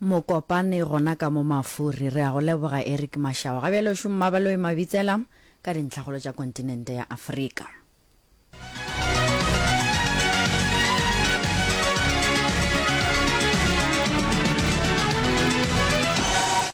Mokopane gona ka mo Mafuri. Re a go leboga Eric Mashau. Ga bjale o šoma Mmabaloi Mabitsela ka dintlhakgolo tša kontinente ya Afrika.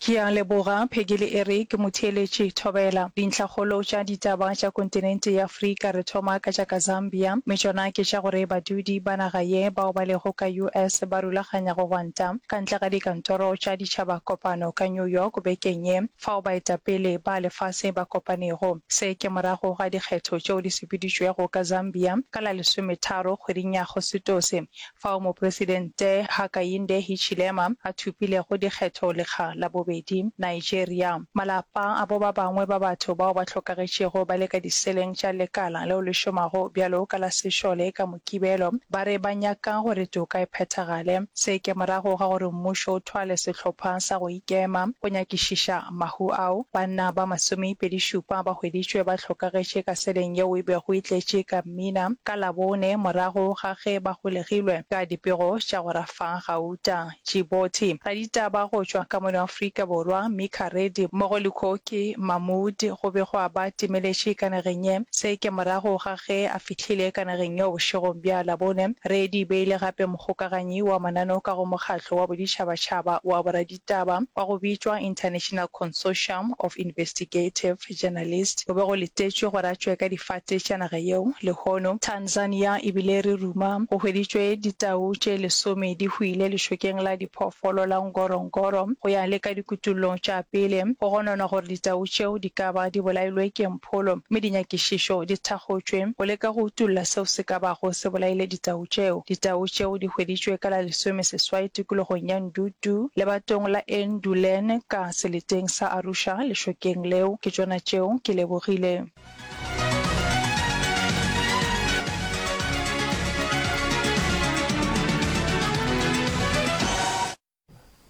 Ke a leboga, Peggy le Eric, motheeletši Thobela. Dintlhakgolo tša ditaba tša kontinente ya Afrika re thoma ka tša ka Zambia, mme tšona ke tša gore badudi ba naga ye bao ba lego ka US ba rulaganya go gwanta ka ntle ga dikantoro tša Ditšhaba Kopano ka New York bekeng ye fao baetapele ba lefase ba kopanego. Se ke morago ga dikgetho tšeo di sepeditšwego ka Zambia ka la lesometharo kgweding ya Agositose fao Mopresidente Hakainde Hichilema a thopilego dikgetho lekga la bobedi. Nigeria, Malapa a bo ba bangwe ba batho bao ba hlokagetšego ba le ka diseleng tša lekala leo le šomago bjalo ka la sešole ka Mokibelo ba re ba nyaka gore toka e phethagale. Se ke morago ga gore mmušo o thwale sehlopha sa go ikema go nyakišiša mahu ao. Banna ba masomepedišupa ba hweditšwe ba hlokagetše ka seleng yeo e bego e tletše ka mmina ka Labone morago ga ge ba golegilwe ka dipego tša go rafa gauta. Djibouti. Raditaba go tšwa ka mono Afrika Borwa, Mika Reddy mmogo le Koki Mahmood go be gwa ba timeletše ka nageng ye. Se ke morago ga ge a fihlile ka nageng yeo bošegong bja Labone. Reddy e be e le gape mokgokaganyi wa mananeo ka go mokgatlo wa boditšhabatšhaba wa boraditaba wa go bitšwa International Consortium of Investigative Journalists. Go be go letetšwe gore a tšwe ka difate tša naga yeo lehono. Tanzania e bile re ruma go hweditšwe ditau tše lesome di hwile lešokeng la diphoofolo la Ngorongoro. Go ya le ka dikutullo tša pele, go gononwa gore ditau tšeo di ka ba di bolailwe ke mpholo mme dinyakišišo di thakgotšwe go leka go utolla seo se ka bago se bolaile ditau tšeo. Ditau tšeo di hweditšwe ka la lesomeseswai tikologong ya Ndutu lebatong la Endulen ka seleteng sa Arusha lešokeng leo. Ke tšona tšeo ke lebogile.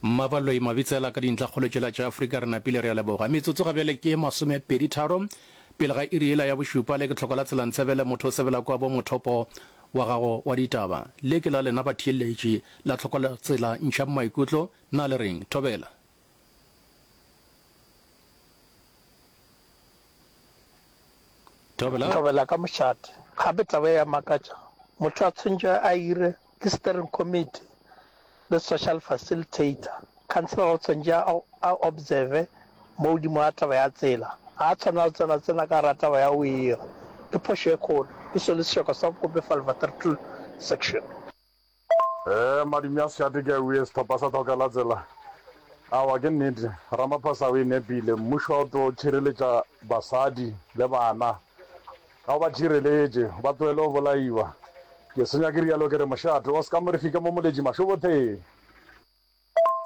Mmabaloi Mabitsela ka dintlhakgolo tšela tša Afrika re napile re a leboga. Metsotso ga bjale ke masomepeditharo pele ga iri yela ya bošupa. Le ke tlhoko la tsela ntshebele motho o sebela kwa bo mothopo wa gago wa ditaba. Le ke la lena batheeletši la tlhoko la tsela ntšhang maikutlo na le reng? Thobela. Thobela. Thobela ka mošate. Gape taba e a makatša. Motho a tshwentšwe a ire ke steering committee le social facilitator. Councillor o tshwentše a a observe mo godimo ga taba ya tsela. Ga a tshwanela go tsena tsena ka gara taba ya go ira. Ke phošo e kgolo. Ke selo sešoka sa bokope Valvattertool section. Ee, madume a sešate ke a uye sehlopha sa Thokela Tsela. Aowa, ke nnete, Ramaphosa o e nepile. Mmušo ga o tlo tšhireletša basadi le bana. Ga o ba tšhireletše, ba tlohele go bolaiwa. Ke senya ke realo ke re mošate o ska mo re fika mo moletši mašobotheng.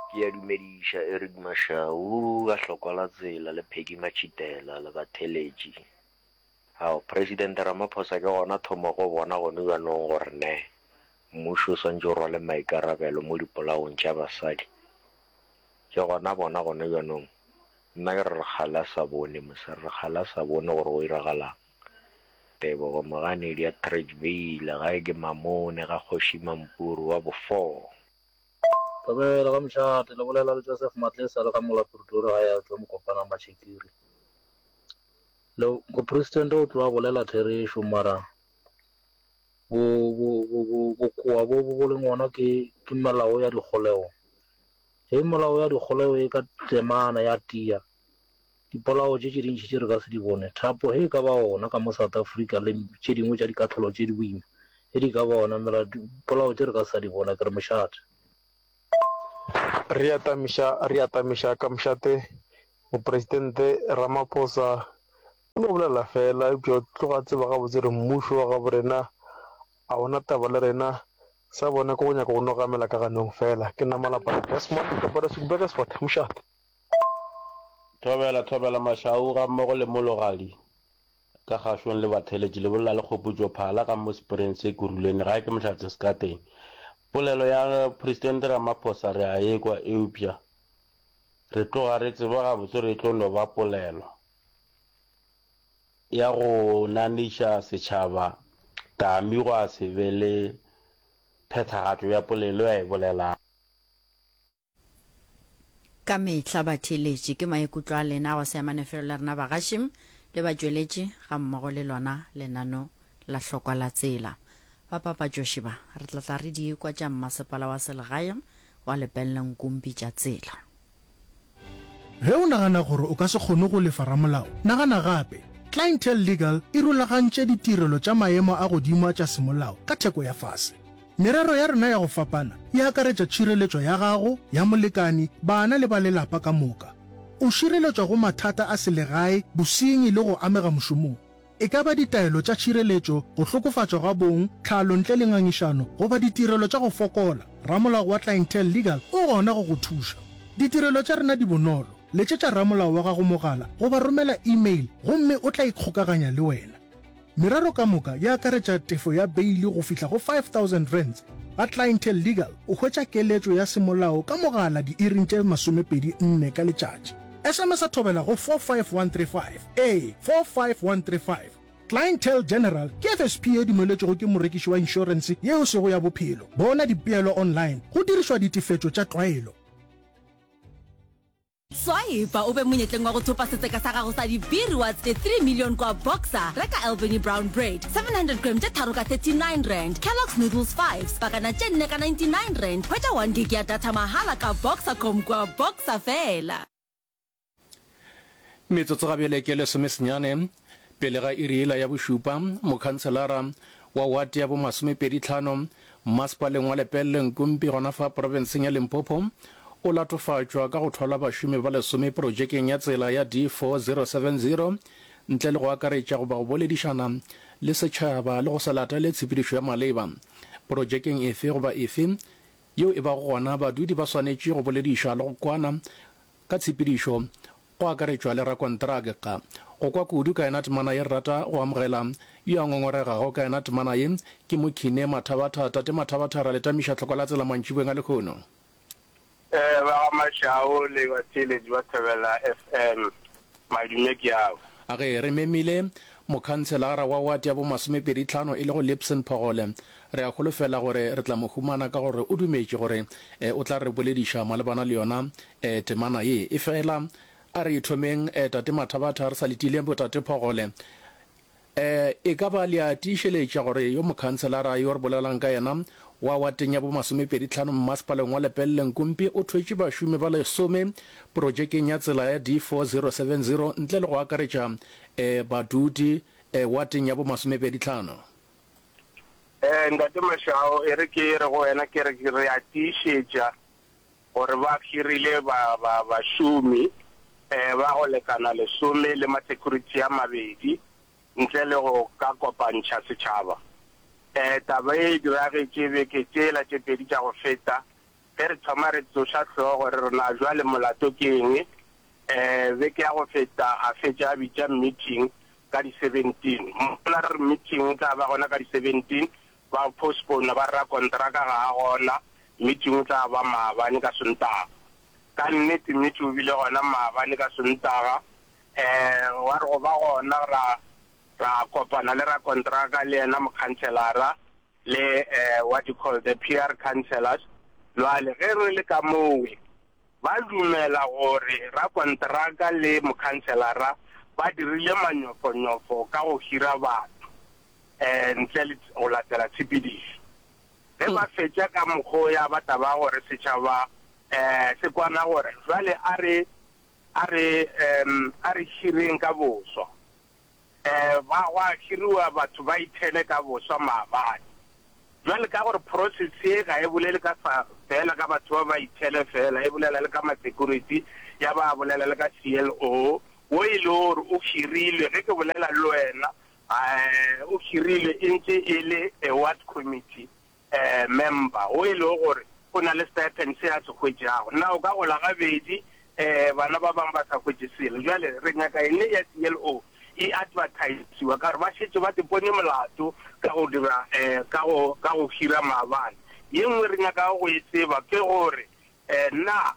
Ke a dumediša Eric Mashau, a Hlokola Tsela le Peggy Matšhitela le batheeletši. Ao, President Ramaphosa ke gona thomo go bona gone bjanong gore ne mmušo o swantše o rwale maikarabelo mo dipolaong tša basadi. Ke gona bona gone bjanong. Nna ke re re kgale a sa bone mos, re kgale a sa bone gore go iragalang. Tebogo Moganedi ya Tradeville, gae ke Mamone ga Kgoši Mampuru wa bo four. Thobela ka mošate, le bolela le Joseph Matlesa le ka mola Pretoria gae a tšwa Mokopana Mashekiri. Le mopresidente o tloa bolela therešo mara bo bo bo bo bokoa bo bo leng gona ke ke melao ya dikgolego. Ge melao ya dikgolego e ka tlemana ya tia, dipolao tše tše dintši tše re ka se di bone. Thapo ge e ka ba gona ka mo South Africa le tše dingwe tša dikahlolo tše di boima ge di ka ba gona, mela dipolao tše re ka se sa di bona. Ke re mošate. Re atamiša, re atamiša ka mošate Mopresidente Ramaphosa o no bolela feela, eupša o tloga a tseba gabotse gore mmušo wa gabo rena a o na taba le rena, sa bona ke go nyaka go no gamela ka ganong feela. Ke nna Malapane Desmond ka Boreswick Burgersfort, mošate. Thobela, Thobela Mashau gammogo le Mologadi ka kgašong le batheeletši le bolela le Kgopotšo Phala ka mo Springs se Kuruleni gae ke Mohlatse Sekateng. Polelo ya Presidente Ramaphosa re a ekwa eupša Re tloga re tseba gabotse gore e tlo no ba polelo ya go naniša setšhaba tami gwa se be le phethagatšo ya polelo a e bolelago. Ka mehla batheeletši, ke maikutlo a lena a go se amane felo le rena bagaši le batšweletši gammogo le lona lenano la hlokwa la tsela. Bapapatšoši ba, re tla tla re di ekwa tša mmasepala wa selegae wa Lepelle Nkumpi tša tsela. Ge o nagana gore o ka se kgone go lefa ramolao, nagana gape. Clientele Legal e rulagantše ditirelo tša maemo a godimo a tša semolao ka theko ya fase. Merero ya rena ya go fapana e akaretša tšhireletšo ya gago, ya molekani, bana le ba lelapa ka moka. O šireletšwa go mathata a selegae, bosenyi le go amega mošomong. E ka ba ditaelo tša tšhireletšo, go hlokofatšwa ga bong, tlhalo ntle le ngangišano, goba ditirelo tša go fokola, ramolao wa Clientele Legal o gona go go thuša. Ditirelo tša rena di bonolo, letšetša ramolao wa gago mogala goba romela email gomme o tla ikgokaganya le wena. Merero ka moka e akaretša tefo ya beili go fihla go R5000. Ga Clientele Legal o hwetša keletšo ya semolao ka mogala diiring tše 24 ka letšatši. SMS-a thobela go 45135, ee, 45135. Clientele General ke FSP ye dumeletšwego ke morekiši wa inšorense ye e sego ya bophelo. Bona dipeelo online go dirišwa ditefetšo tša tlwaelo. Swipa o be monyetleng wa go thopa setseka sa gago sa di-B-Rewards tše 3 million kwa Boxer. Reka Albany Brown Bread 700 gram tše tharo ka R39, Kellogg's Noodles Fives pakana tše nne ka R99. Hwetša 1 gig ya data mahala ka Boxercom kwa Boxer fela. Metsotso ga bjale ke lesomesenyane pele ga iri yela ya bošupa, mokhanselara wa wate ya bomasomepeditlhano mmasepaleng wa Lepelle Nkumpi gona fa profenseng ya Limpopo o latofatšwa ka go thwala bašomi ba lesome projekeng ya tsela ya D4070 ntle le go akaretša goba go boledišana le setšhaba le go se latele tshepedišo ya maleba projekeng efe goba efe yeo e bago gona. Badudi ba swanetše go bolediša le go kwana Ka tshepedišo, go akaretšwa le rakonteraka. Go kwa kudu ka yena temana ye re rata go amogela yo a ngongoregago ka yena temana ye ke Mokhine Mathabatha. Tate Mathabatha ra le tamiša tlhoko la tsela mantšiboeng a lehono. Ba ga Mashao le batheeletši ba Thobela FM, madume ke ao. A ge re memile mokhanselara wa wate ya bomasomepeditlhano e lego Lipson Phogole, re a holofela gore re tla mo humana ka gore o dumetše gore o tla re bolediša malebana le yona temana ye. Efela a re thomeng, Tate Mathabatha, re sa letile boTate Phogole. E ka ba le a tiišeletša gore yo mokhanselara yo re bolelang ka yena wa wateng ya bomasomepeditlhano mmasepaleng wa Lepelle Nkumpi o thwetše bašomi ba lesome projekeng ya tsela ya D4070 ntle le go akaretša badudi wateng ya bomasomepeditlhano? Ntate Mashao, e re ke re go wena ke re re a tiišetša gore ba hirile ba, ba, bašomi ba go lekana lesome le masecurity a mabedi ntle le go ka kopantšha setšhaba. Taba ye e diragetše beke tšela tše pedi tša go feta ge re thoma re tsoša hlogo re re na bjale molato ke eng. Beke ya go feta a fetša a bitša meeting ka di 17. Mola re re meeting e tla ba gona ka di 17, Ba postpone ba re rakonteraka ga a gona, meeting o tla ba maabane ka Sontaga. Ka nnete meeting o bile gona maabane ka Sontaga. Um wa re go ba gona ra ra kopana le rakonteraka le yena mokhanselara le um what you call the PR councillors. Jwale ge re le ka mowe ba dumela gore rakonteraka le mokhanselara ba dirile manyofonyofo ka go hira batho. ntle le go latela tshepedišo. Ge ba fetša ka mokgwa o ya ba taba gore setšhaba se kwana gore jwale a re a re a re hireng ka boswa. Ba gwa hiriwa batho ba ithele ka boswa maabane. Jwale ka gore process ye ga e bolele ka sa fela ka batho ba ba ithele fela, e bolela le ka ma security, ya ba bolela le ka CLO wo e le gore o hirilwe. Ge ke bolela le wena O hirilwe e ntše e le a ward committee member wo e lego gore o na le stipend se a se hwetšago. Na o ka gola gabedi bana ba bangwe ba sa hwetše selo? Bjale re nyaka ene ya CLO e advertisiwa ka gore ba šetše ba ipone molato ka go dira ka go ka go hira maabane. Ye nngwe re nyakago go e tseba ke gore na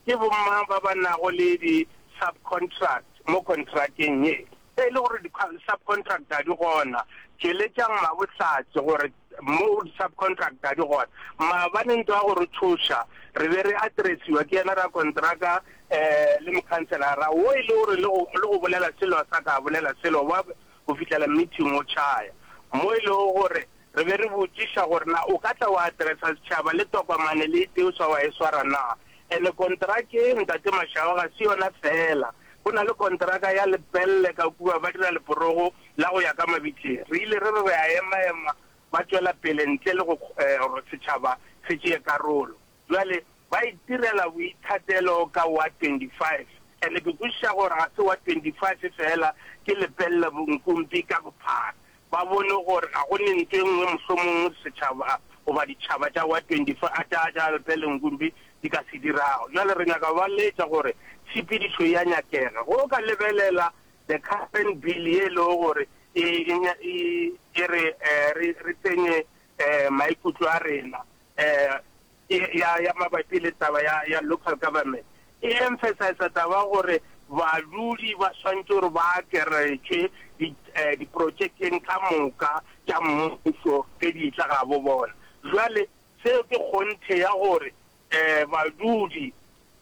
ke bomang ba ba nago le di subcontract mo kontrakeng ye. Ge e le gore di-subcontract ga di gona, tšweletšang mabohlatse gore Mo di-subcontractor di gona. Maabane ntwa ya go re tšhoša, re be re addressiwa ke yena rakontraka um le mokhanselara wo e le gore le go, le go bolela selo a sa ka a bolela selo ba go fihlela meeting o tšhaya. Mo e lego gore re be re botšiša gore na o ka tla wa addressa setšhaba le tokomane le e tee o sa wa e swara na. Ene kontraka ye Ntate Mashao ga se yona feela. Go na le kontraka ya Lepelle ka kua ba dira leporogo la go ya ka mabitleng. Re ile re re re a ema-ema, ba tšwela pele ntle le go gore setšhaba se tšee karolo. Bjale ba itirela boithatelo ka Ward 25. And ke kwešiša gore ga se Ward 25 feela, ke Lepelle Nkumpi ka bophara. Ba bone gore ga go ne ntho e nngwe mohlomongwe setšhaba goba ditšhaba tša Ward 25, tša, tša Lepelle Nkumpi di ka se dirago. Bjale re nyaka go ba laetša gore tshepedišo e a nyakega. Ge o ka lebelela The current bill ye e lego gore e, e, e re re, re tsenye maikutlo a rena ya, ya mabapi le taba ya, ya local government, e emphasize taba gore badudi ba swantše gore ba akeretšwe di, diprotšekeng ka moka tša mmušo ge di etla gabo bona. Jwale seo ke kgonthe ya gore Badudi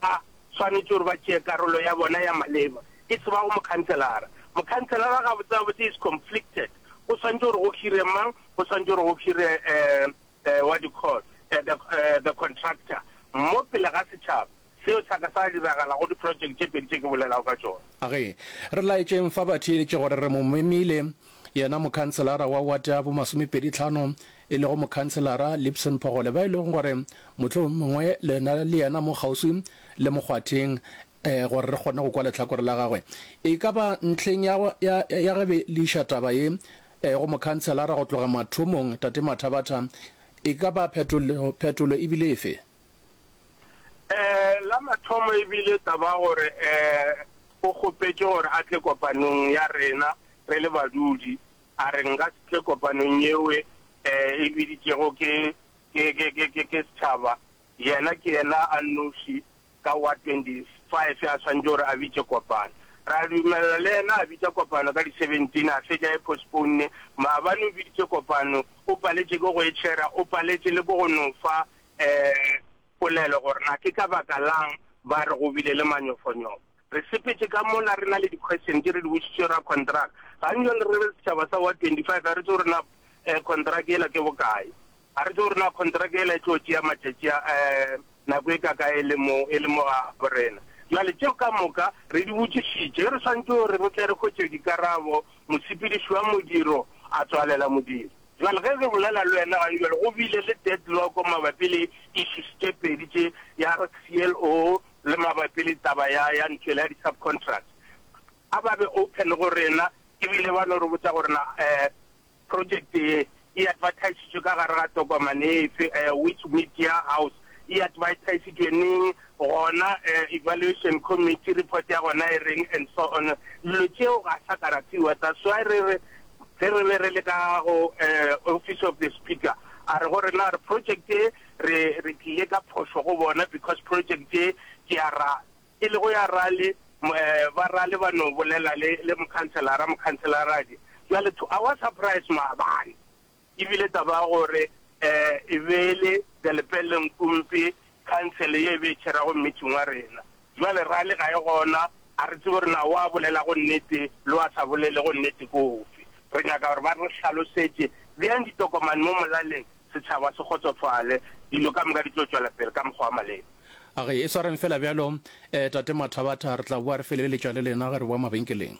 ba swanetše gore ba tšee karolo ya bona ya maleba, e se ba go mokhanselara. Mokhanselara gabotsebabotse is conflicted, go swanetše gore go hire mang, go swanetše gore go hire what do you call the, the contractor mo pele ga setšhaba. Seo sa ka sa diragala go di-project tše pedi tše ke bolelago ka tšona. A ge re laetšeng fa batheeletši gore re mo memile yena mokhanselara wa wate ya bomasomepeditlhano e lego mokhanselara Lipson Phogole ba e lego gore mohlomongwe le na le yena mo kgauswi le mokgwatheng eh, gore re kgone go kwa lehlakore la gagwe. E ka ba ntlheng ya, ya, ya ge be le iša taba ye eh, go mokhanselara go tloga mathomong, Tate Mathabatha, e ka ba phetolo, phetolo e bile efe? Eh, la mathomo e bile taba ya gore eh, o kgopetše gore a tle kopanong ya rena re le badudi. A re nka se tle kopanong yeo e e biditšego ke, ke, ke, ke, ke, ke setšhaba. Yena ke yena a nnoši ka wa 25 a swanetše gore a bitše kopano. Ra dumelela le yena a bitša kopano ka di 17, a fetša e postpone. Maabane o biditše kopano, o paletše ke go e tšhera, o paletše le ke go no fa um polelo gore na ke ka baka lang ba re go bile le manyofonyofo. Re sepetše ka mola re na le di-question tše re di botšitše rakontraka. Gantši re re setšhaba sa Ward 25 ga re tsebe gore na kontraka yela ke bokae. Ga re tsebe gore na kontraka yela e tlo tšea matšatši a nako e kakae e le mo e le mo ga bo rena. Bjale tšeo ka moka re di botšišitše. Re swanetše gore re tle re hwetše dikarabo, mosepediši wa modiro a tswalela modiro. Bjale ge re bolela le wena gane bjale go bile le deadlock mabapi le issues tše pedi tše ya CLO le mabapi le taba ya ya ntho yela ya di subcontract. A ba be open go rena ebile ba no re botša gore na eh project ye e advertisitšwe ka gare ga tokomane efe, eh which media house, e advertisitšwe neng, gona eh evaluation committee report ya gona e reng and so on. Dilo tšeo ga sa ka ra fiwa, that's why re re ge re be re le ka go eh office of the speaker a re go rena re project e Re, re tlile ka phošo go bona because project ye ke ya ra, e lego ya rale, ba rale ba no bolela le, le mokhanselara, mokhanselaradi. Bjale to our surprise maabane e bile taba ya gore e be e le the Lepelle Nkumpi council ye e be e tšherago meeting wa rena. Bjale rale ga e gona, ga re tsebe gore na wa bolelago nnete le wa sa bolelego nnete ke ofe. Re nyaka gore ba re hlalosetše, beang ditokomane mo molaleng setšhaba se kgotsofale, dilo ka moka di tlo tšwela pele ka mokgwa wa maleba. A re e swareng fela bjalo, Tate Mathabatha, re tla boa re feleletša le lena ge re boa mabenkeleng.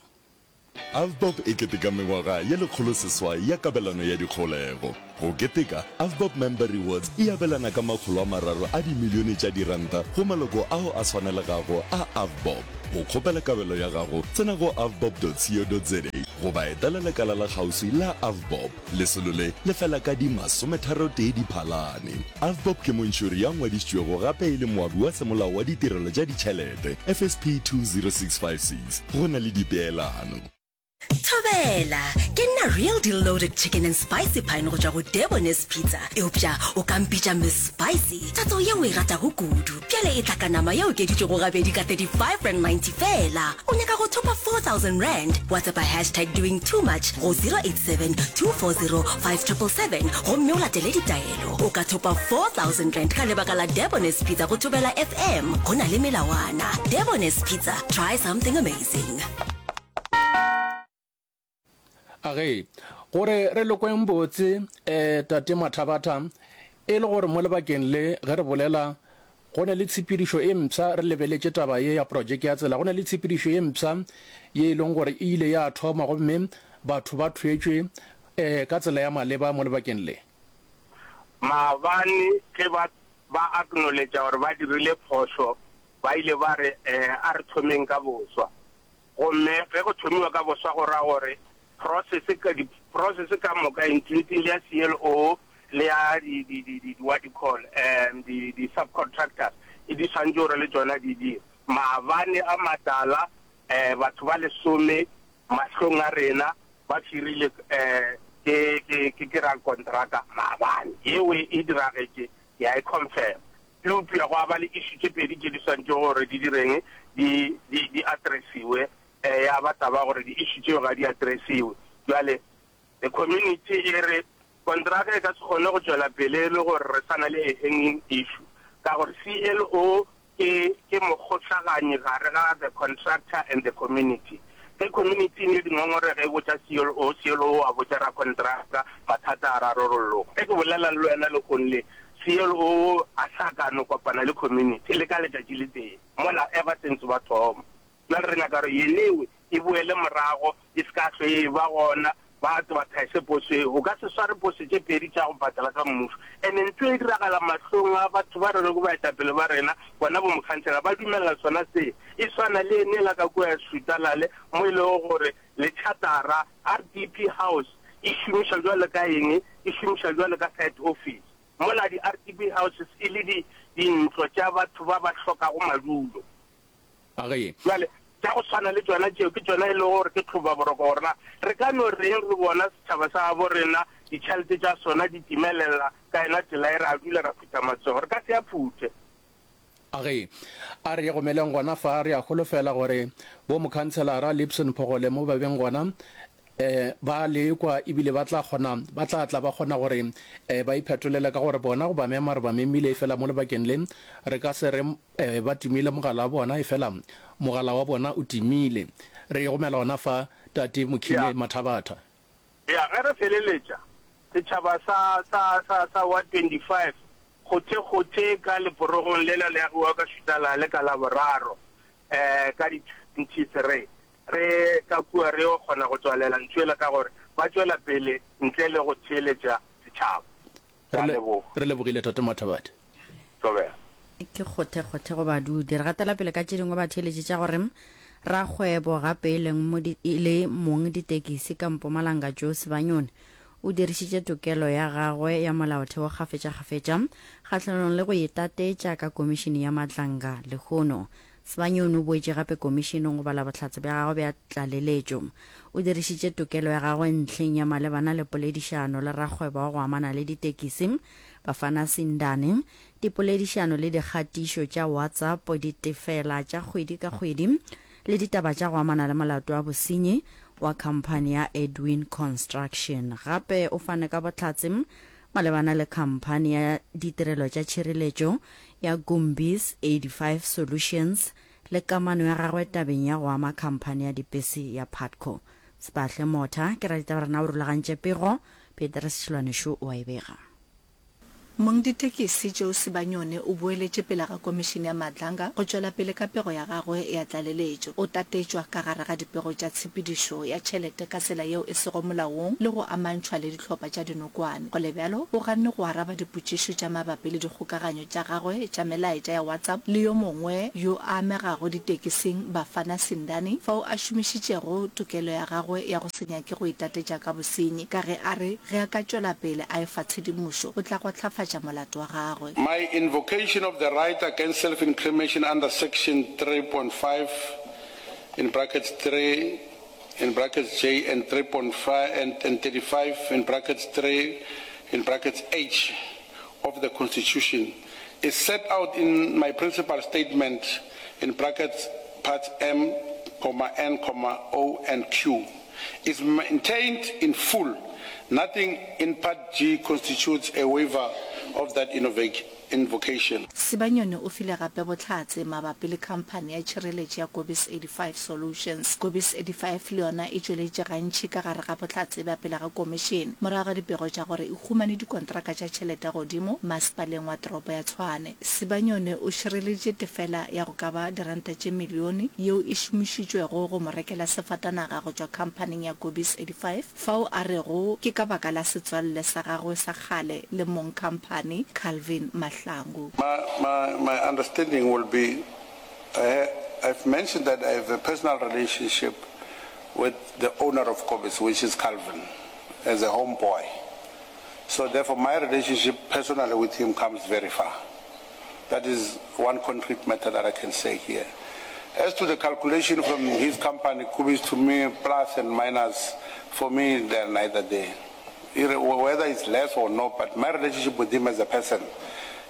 AVBOB e keteka mengwaga ye lekgoloseswai ya kabelano ya dikgolego. Go keteka, AVBOB Member Rewards e abelana ka makgolo a mararo a dimilione tša diranta go maloko ao a swanelegago a AVBOB. Go kgopela kabelo ya gago, tsena go avbob.co.za goba etela lekala la kgauswi la AVBOB. Lesolo le le fela ka di masometharotee Diphalane. AVBOB ke montšhori ya ngwadišitšwego gape e le moabi wa semolao wa ditirelo tša ditšhelete, FSP 20656. Go na le dipeelano. Thobela! Ke nna Real Deal Loaded Chicken and Spicy Pine go tšwa go Debonair's Pizza. Eupša o ka mpitša Miss Spicy, tatso ye o e ratago kudu. Bjale e tla ka nama ye okeditšwego gabedi ka R35.90 feela. O nyaka go thopa R4000? WhatsAppa hashtag doing too much go 087 240 5777 gomme o latele ditaelo. O ka thopa R4000 ka lebaka la Debonair's Pizza go Thobela FM. Go na le melawana. Debonair's Pizza, try something amazing. A ge, gore re lokweng botse, eh, Tate Mathabatha, e le gore mo lebakeng le ge re bolela, go ne le tshepedišo e mpsha, re lebeletše taba ye ya projeke ya tsela, go ne le tshepedišo ye mpsha ye e leng gore e ile ya thoma gomme batho ba thwetšwe, eh, ka tsela ya maleba mo lebakeng le. Maabane ge ba, ba acknowledge gore ba dirile phošo, ba ile ba re, eh, a re thomeng ka boswa. Gomme ge go thomiwa ka boswa go ra gore process ka di process ka moka including le ya CLO le ya di di di di what you call um di di subcontractors e di swantše gore le tšona di di maabane a matala um batho ba lesome mahlong a rena ba firile um ke ke ke ke rakontraka maabane yeo e diragetše ke a e confirm Eupša gwa ba le issue tše pedi tše di swanetšego gore di direng, di, di, di addressiwe. Eh, ya ba taba gore di issue tšeo ga di addressiwe. Bjale, the community e re kontraka e ka se kgone go tšwela pele e le gore re sa na le a hanging issue, ka gore CLO ke, ke mokgohlaganyi gare ga the contractor and the community. Ge community e ne dingongorego e botša CLO, CLO a botša rakontraka, mathata a rarolloga. Ge ke bolela le wena lehono le, CLO a sa ka no kopana le community le ka letšatši le tee mola ever since ba thoma. Bjale re nyaka gore yenewe e boele morago e se ka hlwe e eba gona, ba advertise poso eo. O ka se sware poso tše pedi tša go patela ka mmušo. And ntho e diragala mahlong a batho ba re rego baetapele ba rena, bona bo mokhansela ba dumelela sona se. E swana le yenela ka kua Sutalale mo e lego gore le chatara RDP house e šomišwa bjalo ka eng? E šomišwa bjalo ka site office. Mola di-RDP houses e le di, dintlo tša batho ba ba hlokago madulo. A ge. Bjale, tša go swana le tšona tšeo ke tšona e lego gore ke tlhobaboroko gore na re ka no reng re bona setšhaba sa gabo rena ditšhelete tša sona di timelela ka yona tsela e, ra dula ra phutha matsogo. Re ka se a phuthe. A ge a re gomeleng gona fa, re a holofela gore bo Mokhanselara Lipson Phogole mo ba beng gona um ba lekwa ebile ba tla kgona, ba tla tla ba kgona gore um ba iphetolele ka gore bona go ba mema re ba memile efela mo lebakeng le re ka se re um ba timile mogala wa bona efela mogala wa bona o timile. Re e gomela gona fa Tate Mokhine Ya. Mathabatha. Ya, ge re feleletša, setšhaba sa, sa, sa, sa Ward 25, kgothe-kgothe ka leporogong lela le agiwago ka Šutalale ka Laboraro, eh, ka di 23, re ka kua re yo kgona go tswalela ntho yela ka gore ba tšwela pele ntle le go theeletša setšhaba. Ke a Re le, leboga. re lebogile Tate Mathabathe. Thobela. Ke kgothe-kgothe go badudi. Re gatela pele ka tše dingwe batheeletši tša gore rakgwebo gape e leng mo di, e le mong ditekisi ka Mpumalanga Joe Sibanyoni o dirišitše tokelo ya gagwe ya molaotheo kgafetšakgafetša kgahlanong le go itatetša ka komišene ya Madlanga lehono. Sibanyoni o boetše gape komišeneng go bala bohlatse bja gagwe bja tlaleletšo. O dirišitše tokelo ya gagwe ntlheng ya malebana le poledišano le rakgwebo wa go amana le ditekisi Bafana Sindane, dipoledišano le dikgatišo tša WhatsApp, ditefela tša kgwedi ka kgwedi le ditaba tša go amana le molato wa bosenyi wa khamphani ya Edwin Construction. Gape o fane ka bohlatse malebana le khamphani ya ditirelo tša tšhireletšo ya Gumbis 85 Solutions le kamano ya gagwe tabeng ya go ama khamphani ya dipese ya Putco. Sepahle Motha ke raditaba rena o rulagantše pego, Petrus Tšhilwane-Shu o a e bega. Mongditekisi Joe Sibanyoni o boeletše pele ga Komišene ya Madlanga go tšwela pele ka pego ya gagwe ya tlaleletšo. O tatetšwa ka gare ga dipego tša tshepedišo ya tšhelete ka tsela yeo e sego molaong le go amantšhwa le dihlopha tša dinokwane. Go le bjalo, o ganne go araba dipotšišo tša mabapi le dikgokaganyo tša gagwe tša melaetša ya WhatsApp le yo mongwe yo a amegago ditekising Bafana Sindane fao a šomišitšego tokelo ya gagwe ya go se nyake go itatetša ka bosenyi ka ge a re ge a ka tšwela pele a efa tshedimošo o tla gwahlafatša molato wa gagwe. My invocation of the right against self-incrimination under section 3.5 in brackets 3. in brackets J and 3.5 and, and 35 in brackets 3 in brackets H of the Constitution is set out in my principal statement in brackets parts M, comma, N, comma, O and Q is maintained in full. Nothing in part G constitutes a waiver of that invocation. Sibanyoni o file gape bohlatse mabapi le khamphani ya tšhireletšo ya Kobis 85 Solutions. Kobis 85 le yona e tšweleditše gantši ka gare ga bohlatse bja pele ga komišene morago ga dipego tša gore e humane dikontraka tša tšhelete godimo masepaleng wa toropo ya Tshwane. Sibanyoni o šireleditše tefela ya go ka ba diranta tše milione yeo e šomišitšwego go mo rekela sefatanaga go tšwa khamphaning ya Kobis 85 fao a rego ke ka baka la setswalle sa gagwe sa kgale le mong khamphani Calvin Mahlangu. My, my, my understanding will be, I, I've mentioned that I have a personal relationship with the owner of Kobis, which is Calvin, as a homeboy. So therefore my relationship personally with him comes very far. That is one concrete matter that I can say here. As to the calculation from his company, Kubis, to me, plus and minus, for me, they are neither there. Whether it's less or no, but my relationship with him as a person,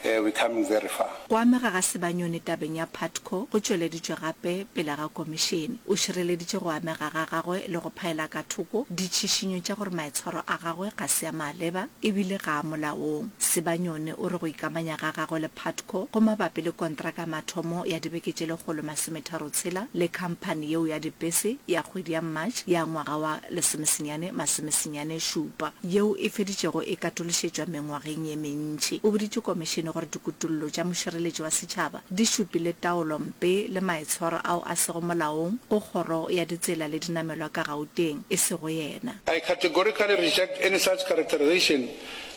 uh, we're coming very far. Go amega ga Sibanyoni tabeng ya Putco go tšweleditšwe gape pele ga komišene. O šireleditše go amega ga gagwe le go phaela ka thoko ditšhišinyo tša gore maitshwaro a gagwe ga se a maleba e bile ga a molaong. Sibanyoni o re go ikamanya ga gagwe le Putco go mabapi le kontraka ya mathomo ya dibeke tše 136 le khamphani yeo ya dipese ya kgwedi ya March ya ngwaga wa lesomesenyane masomesenyane šupa yeo e feditšego e katološetšwa mengwageng ye mentši. O boditše komišene gore dikutollo tša mošireletši wa setšhaba di šupile taolo mpe le maitshwaro ao a sego molaong go Kgoro ya Ditsela le Dinamelwa ka Gauteng, e sego yena. I categorically reject any such characterization.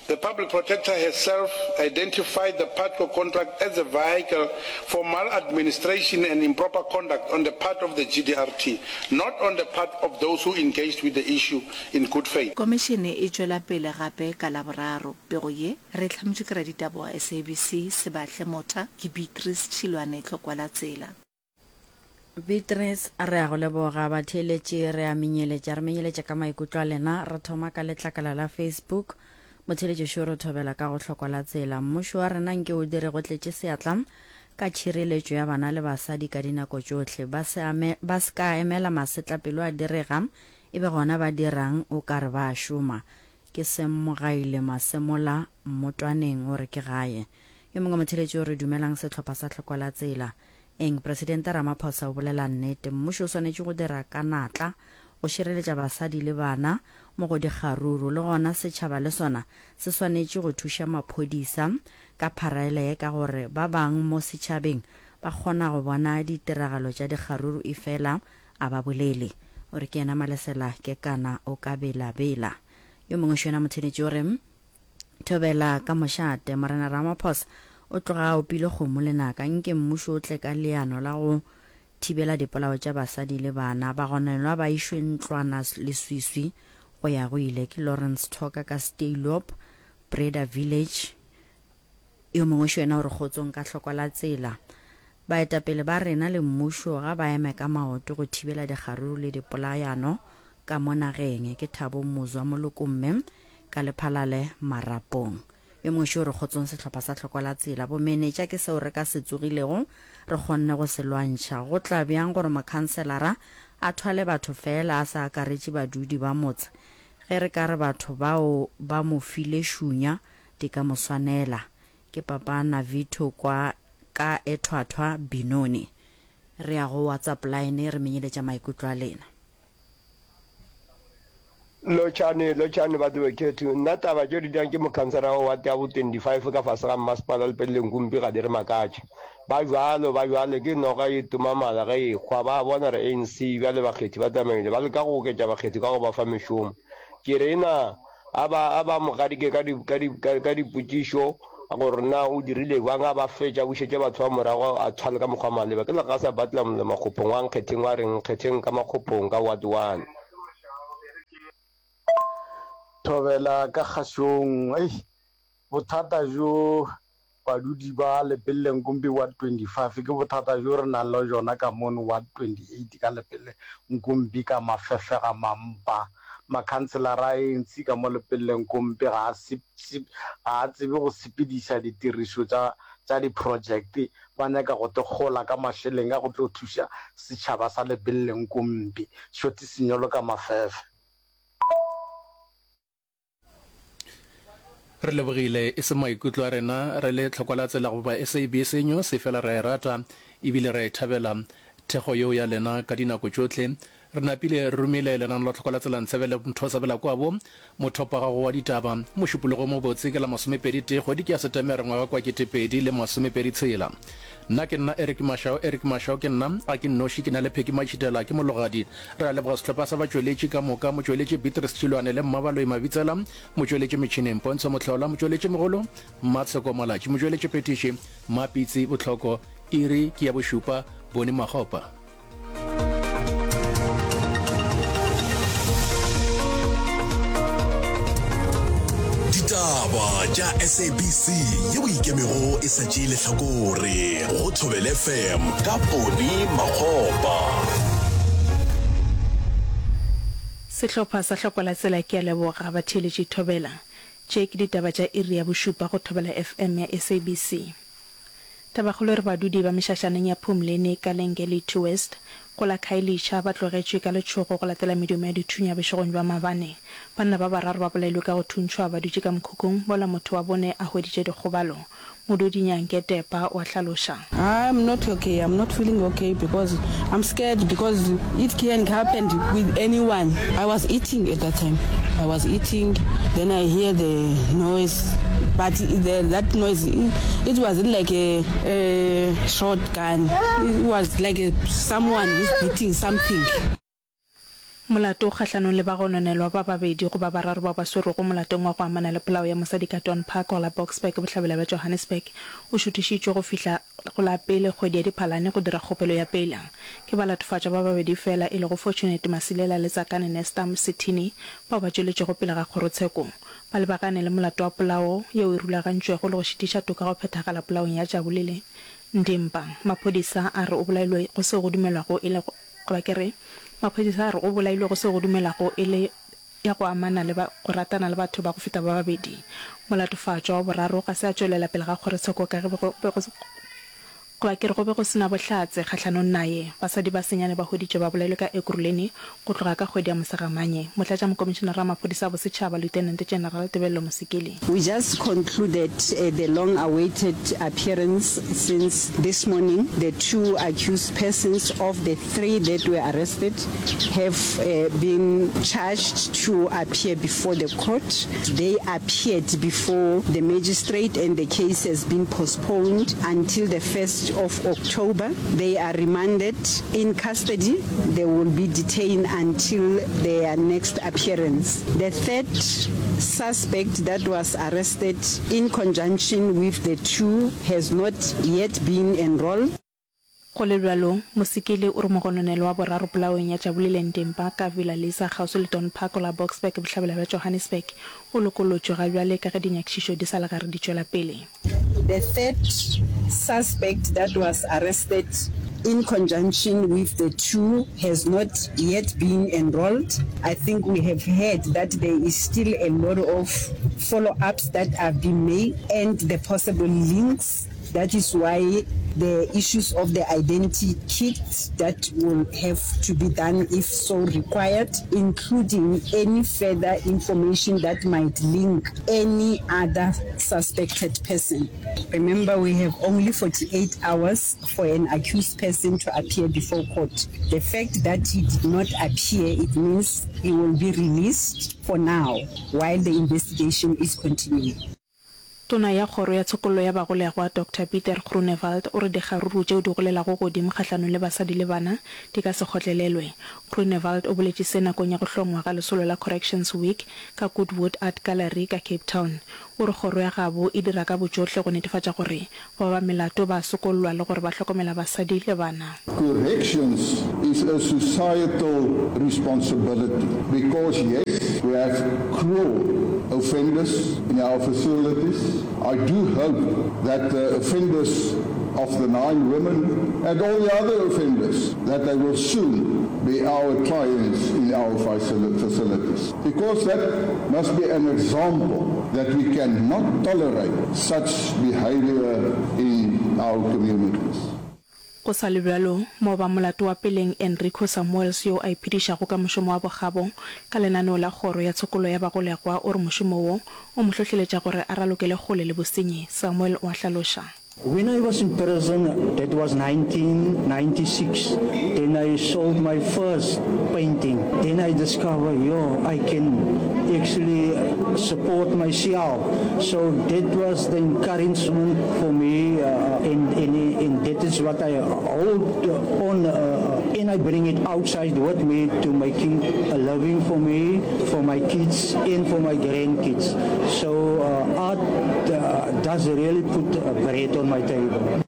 The Public Protector herself identified the Putco contract as a vehicle for maladministration and improper conduct on the part of the GDRT, not on the part of those who engaged with the issue in good faith. Komišene e tšwela pele gape ka Laboraro. Pego ye re e hlametšwe ke raditaba wa SABC, Sebahle Motha, ke Beatrice Tšhilwane Tlhokwalatsela. Beatrice, Re a go leboga. Batheeletši, re a menyeletša. Re menyeletša ka maikutlo a lena. Re thoma ka letlakala la Facebook. Motheeletši šo re thobela ka go hlokwa la tsela. Mmušo wa rena nke o dire go tletše seatla ka tšhireletšo ya bana le basadi ka dinako tšohle. Ba se ame, ba se ka emela masetlapelo a direga e be gona ba dirang o ka re ba a šoma. Ke Semmogaile Masemola Mmotwaneng o re ke gae. Yo mongwe motheeletši o re dumelang sehlopha sa hlokwa la tsela. Eng? Presidente Ramaphosa o bolela nnete. Mmušo o swanetše go dira ka natla go šireletša basadi le bana mo go dikgaruru. Le gona setšhaba le sona se swanetše go thuša maphodisa ka pharaele ye ka gore ba bang mo setšhabeng ba kgona go bona ditiragalo tša dikgaruru efela a ba bolele. O re ke yena Malesela Kekana o ka bela-bela. Yo mongwe šo yena motheeletši o re, Thobela ka mošate, Morena Ramaphosa o tloga a opile kgomo lenaka. Nke mmušo o tle ka leano la go thibela dipolao tša basadi le bana. Bagononelwa ba išwe ntlwana leswiswi go ya go ile. Ke Lawrence Thoka ka Steilop, Breda Village. Yo mongwe šo yena o re kgotsong ka hloko la tsela. Baetapele ba rena le mmušo ga ba eme ka maoto go thibela dikgaruru le dipolayano ka mo nageng. Ke Thabo Muzwa Molokomme ka Lephalale Marapong. Yo mongwe šo o re kgotsong sehlopha sa hloko la tsela. Bomenetša ke seo re ka se tsogilego re kgonne go se lwantšha. Go tla bjang gore mokhanselara a thwale batho feela a sa akaretše badudi ba motse? Ge re ka re batho bao ba mo file šunya di ka mo swanela. Ke papa Navitho kwa ka Ethwathwa, Benoni. Re ya go WhatsApp line re menyeletša maikutlo a lena. Lotšhani, lotšhani batho bekhethu. Nna taba tšeo di dirang ke mokhansara wa ward ya bo 25 ka fase ga mmasepala Lepelle Nkumpi ga di re makatše. Ba bjalo, ba bjalo, ke noga e toma mala ge e ehwa. Ba bona gore ANC bjale bakgethi ba tsamaile, ba leka go oketša bakgethi ka go ba fa mešomo. Ke re na A ba, a ba mo gadike ka di, ka di, ka, ka dipotšišo gore na o dirile bjang, a ba fetša, a bušetše batho ba morago, a thwale ka mokgwa maleba. Ke Legasa Butler Mle Makgophong wa Nkgetheng wa reng Nkgetheng ka Makgophong ka Ward One. Thobela ka kgašong. Ei, bothata bjo. Badudi ba Lepelle Nkumpi Ward 25 ke bothata bjo re nang le bjona ka mono Ward 28 ka Lepelle Nkumpi ka mafefega mampa. Makhanselara a ANC ka mo Lepelle Nkumpi ga a ga a tsebe go sepediša ditirišo tša tša diprojekte, ba nyaka go tekgola ka mašeleng a go tlo thuša setšhaba sa Lepelle Nkumpi. Shoti Senyolo ka Mafefe. Re lebogile e se maikutlo a rena re le tlhokwa la tsela goba SABC News, efela re a e rata ebile re a e thabela thekgo yeo ya lena ka dinako tšohle. Re napile re romile lenano la tlhokwa la tsela Ntshebele Mthosabela Kwabo, mothopo wa gago wa ditaba. Mošupologo o mobotse ke la masomepedi tee kgwedi ke ya Setemere ngwaga kwa 2026 tshela. Nna ke nna Eric Mashau, Eric Mashau ke nna, ga ke nnoši, ke na le Peggy Matšhitela, ke Mologadi. Re a leboga sehlopha sa batšweletši ka moka, motšweletši Beatrice Tšilwane le Mmabaloi Mabitsela, motšweletši metšhineng Pontsho Mohlola, motšweletši mogolo Mmatsheko Malatši, motšweletši phethiši Mmapitsi Bohloko, iri ke ya bošupa, Boni Makgopa. Ditaba tša SABC ye o ikemego e sa tšee lehlakore go Thobela FM ka Poni Makgopa. Sehlopha sa Hlokwa la Tsela ke a leboga batheeletši Thobela. Tše ke ditaba tša iri ya bošupa go Thobela FM ya SABC. Tabakgolo e re badudi ba mešašaneng ya Phumleni ka Lengelitu West go la Khayelitsha ba tlogetšwe ka letšhogo go latela medumo ya dithunya bošegong bja maabane. Banna ba bararo ba bolailwe ka go thuntšhwa ba dutše ka mokhukhung mola motho wa bone a hweditše dikgobalo. Modudi Nyanke Tepa o a hlaloša. I'm not okay, I'm not feeling okay because I'm scared because it can happen with anyone. I was eating at that time, I was eating then I hear the noise but the, that noise it wasn't like a, a shotgun, it was like a, someone who's beating something. Molato o kgahlanong le bagononelwa ba babedi goba bararo bao ba swerwego molatong wa go amana le polao ya mosadi ka Dawn Park go la Boksburg bohlabela bja Johannesburg o šuthišitšwe go fihla go la pele kgwedi ya Diphalane go dira kgopelo ya peila. Ke balatofatšwa ba babedi feela e lego Fortunate Masilela le Tsakane Nesta Msithini bao ba tšweletšego pele ga kgorotsheko. Ba lebagane le molato wa polao yeo e rulagantšwego le go šitiša toka go phethagala polaong ya Jabulile Ndimpa. Maphodisa a re o bolailwe go seo go dumelwago e le Goba ke re, maphodisa a re o bolailwe go seo go dumelwago e le ya go amana le ba go ratana le batho ba go feta ba babedi. Molatofatšwa wa boraro ga se a tšwelela pele ga kgorotsheko ka ge be go be go goba ke re go be go se na bohlatse kgahlanong naye. Basadi ba senyane ba hweditšwe ba bolailwe ka Ekurhuleni go tloga ka kgwedi ya Mosegamanye. Motlatšamokomišenara wa maphodisa a bosetšhaba, Lieutenant General Tebello Mosikili. We just concluded the long awaited appearance since this morning the two accused persons of the three that were arrested have been charged to appear before the court. They appeared before the magistrate and the case has been postponed until the 1st of October. They are remanded in custody. They will be detained until their next appearance. The third suspect that was arrested in conjunction with the two has not yet been enrolled. Go le bjalo, Mosekele o re mogononelwa wa boraro polaong ya Jabulile Ntempa ka Villa Lisa kgauswi le Dawn Park go la Boksburg bohlabela bja Johannesburg o lokollotšwe ga bjale ka ge dinyakišišo di sa le gare di tšwela pele. The third suspect that was arrested in conjunction with the two has not yet been enrolled. I think we have heard that there is still a lot of follow-ups that are being made and the possible links. That is why the issues of the identity kit that will have to be done if so required, including any further information that might link any other suspected person. Remember, we have only 48 hours for an accused person to appear before court. The fact that he did not appear, it means he will be released for now while the investigation is continuing. Tona ya Kgoro ya Tshokollo ya Bagolegwa, Doctor Pieter Groenewald o re dikgaruru tšeo di golelago godimo kgahlanong le basadi le bana di ka se kgotlelelwe. Groenewald o boletše se nakong ya go hlongwa ga lesolo la Corrections Week ka Goodwood Art Gallery ka Cape Town. O re kgoro ya gabo e dira ka botšohle go netefatša gore bao ba melato ba a sokollwa le gore ba hlokomela basadi le bana. Corrections is a societal responsibility because yes, we have cruel. offenders in our facilities. I do hope that the offenders of the nine women and all the other offenders, that they will soon be our clients in our facilities. Because that must be an example that we cannot tolerate such behavior in our communities. Go sa le bjalo, moba molato wa peleng Enrico Samuels yo a iphedišago ka mošomo wa bokgabo ka lenaneo la Kgoro ya Tshokolo ya Bagolegwa o re mošomo wo o mo hlohleletša gore a ralokele kgole le bosenyi. Samuel o a hlaloša. When I was in prison, that was 1996, then I sold my first painting. Then I discovered, yo, I can actually support myself. So that was the encouragement for me, uh, and, and, and that is what I hold on, uh, and I bring it outside with me to making a living for me, for my kids, and for my grandkids. So uh, art uh, does really put bread on my table.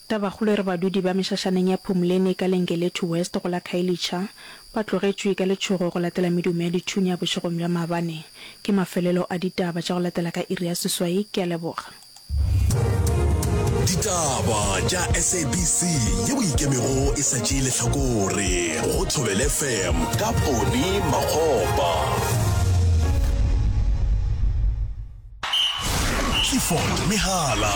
Tabakgolo e re badudi ba mešašaneng ya Phumleni ka Lengelethu West go la Khayelitsha ba tlogetšwe ka letšhogo go latela medumo ya dithunya bošegong bja maabane. Ke mafelelo a ditaba tša go latela ka iri ya seswai. Ke a leboga. Ditaba tša SABC ye o ikemego e sa tšee lehlakore go Thobela FM ka Poni Makgopa. Clifford Mehala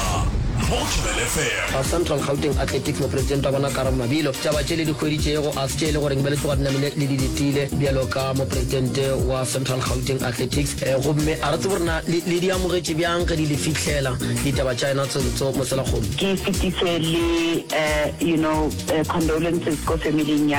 mo go Thobela FM. Central Gauteng Athletics Mopresidente wa bona Karabo Mabilo. Taba tše le di hweditšego a se tše e le goreng be le tloga di namile le di letile bjalo ka Mopresidente wa Central Gauteng Athletics gomme a re tsebe gore na le le di amogetše bjang ge di le fihlela ditaba tša yena Tsontso Moselakgomo. Ke fetise le you know condolences ko family-ing ya.